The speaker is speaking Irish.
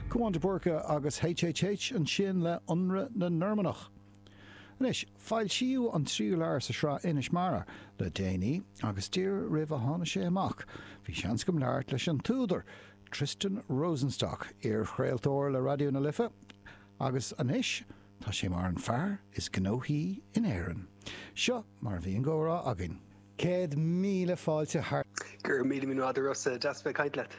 Cúán de Búrca agus HHH ansin le Ionradh na Normannach. Anois, foilsíodh an tríú leabhar sa sraith Inis Mara le déanaí agus díreach roimh a tháinig sé amach, bhí seans agam labhairt leis an t-údar, Tristan Rosenstock, iar-chraoltóir le Raidió na Life, agus anois tá sé mar an fear is gnóthaí in Éirinn. Seo mar a bhí an gcomhrá againn. 100,000 fáilte thar. Go raibh míle míle maith agat a Rossa, deas bheith ag caint leat.